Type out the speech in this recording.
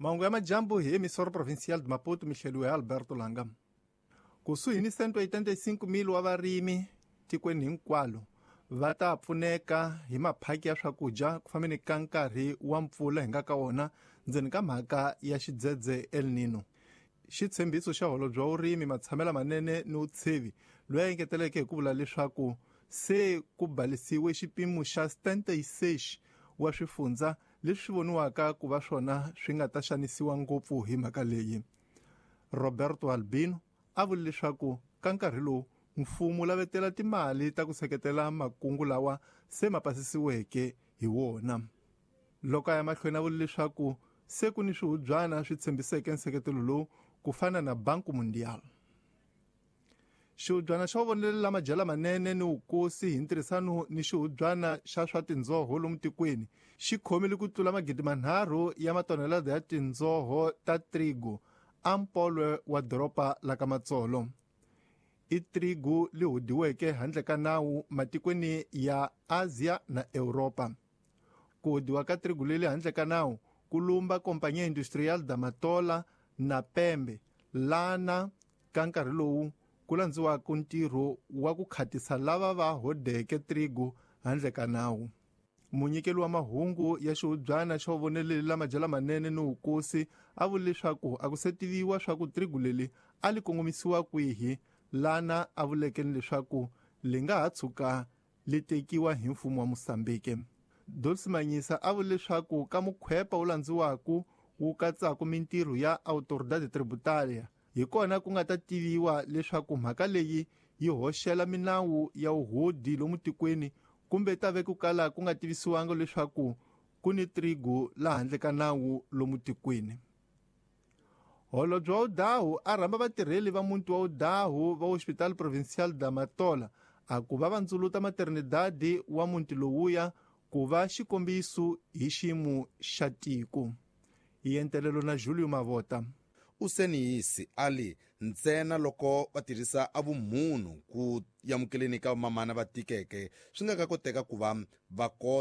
Mahungu ya majambu hi emissora provincial de Maputo, mihleliwe Alberto Langa. Kusuhi ni 185,000 wa varimi tikweni hinkwalo va ta pfuneka hi maphaki ya swakudya ku fambeni ka nkarhi wa mpfula hi nga ka wona ndzeni ka mhaka ya xidzedze El Nino. Xitshembiso xa holobye wa vurimi, matshamelo manene ni vutshevi loyi a engeteleke hi ku vula leswaku se ku balisiwe xipimo xa 76 wa swifundza leswi voniwaka ku va swona swi nga ta xanisiwa ngopfu hi mhaka leyi. Roberto Albino a vule leswaku ka nkarhi lowu mfumo lavetela timali ta ku seketela makungu lawa se ma pasisiweke hi wona. Loko a ya mahlweni a vule leswaku se ku ni swihubyana swi tshembiseke nseketelo lowu ku fana na Banco Mundial. Xihubyana xa vonelela madyela manene ni vukosi hi ntirhisano ni xihubyana xa swa tindzoho lomu tikweni xi khomile ku tlula 3,000 ya matonelada ya tindzoho ta trigo a mpolwe wa doroba la ka Matsolo. I trigo li hudiweke handle ka nawu matikweni ya Asia na Europa. Ku hudiwa ka trigo leli handle ka nawu ku lumba Companhia Industrial da Matola na Pembe lana ka nkarhi lowu ku landziwaka ntirho wa ku khatisa lava va hodeke trigo handle ka nawu. Munyikeli wa mahungu ya xihubyana xa voneleli la madyela manene ni vukosi a vule leswaku a ku se tiviwa swa ku trigo leli a li kongomisiwa kwihi, lana a vuleke ni leswaku li nga ha tshuka li tekiwa hi mfumo wa Mozambique. Dulce Manyisa a vule leswaku ka mukhwepa wu landziwaka wu katsaka mintirho ya Autoridade Tributária hi kona ku nga ta tiviwa leswaku mhaka leyi yi hoxela minawu ya vuhodi lomu tikweni kumbe ta ve ku kala ku nga tivisiwanga leswaku ku ni trigo la handle ka nawu lomu tikweni. Holobye wa Udahu a rhamba vatirheli va muti wa Udahu va Hospital Provincial da Matola a ku va vandzuluta maternidade wa muti lowuya ku va xikombiso hi xiyimo xa tiko. Yentelelo na Julio Mavota. Useniyisi ali ntsena loko va tirhisa a vumunhu ku yamukeleni ka vamamana va tikeke swi nga ka koteka ku va va kota.